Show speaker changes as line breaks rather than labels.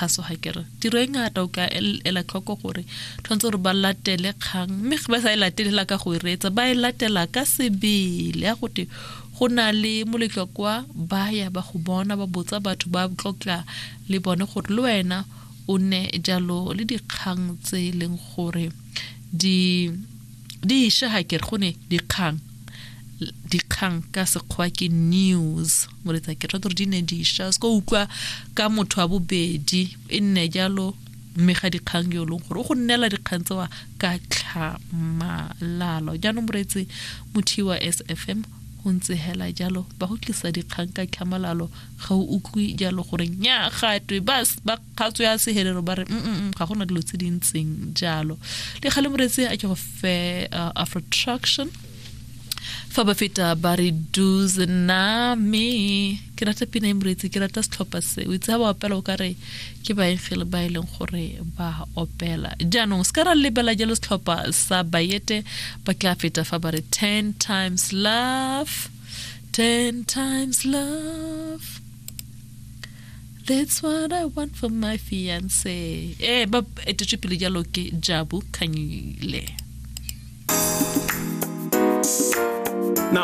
kgaso ga kere tiro e ngata o ka ela tlhoko gore tshwanetse gore ba latele kgang mme ba sa e latelela ka go e reetsa ba e latela ka sebele ya gote go na le moletlo kwa ba ya ba go bona ba botsa batho ba tlotla le bone gore le wena o nne jalo le dikgang tse e leng gore di di isha ga kere go ne dikgang dikgang ka sekgwa ke news moretsa ke rata gore di ne dišwa se ko utlwa ka motho wa bobedi e nne jalo mme ga dikgang yo e leng gore o go nnela dikgang tsewa ka tlhamalalo jaanong moreetsi mothi wa s f m go ntse hela jalo ba go tlisa dikgang ka tlhamalalo ga o utlwe jalo gore nya gatwe ba ba kgatso ya sehelelo ba re mm ga gona dilo tse di ntseng jalo le gale moreetsi a ke go fe afrotraction fa ba feta ba re duze name ke rata pina e moreetsi ke rata setlhopha se o itse ga ba opela o ka re ke baengele ba e leng gore ba opela jaanong se ka ra lebela jalo setlhopha sa bayete ba tla feta fa ba re ten times love ten times love That's what I want for my fiance. Eh, ba etetswe pele jalo ke Jabu Khanyile.
Now,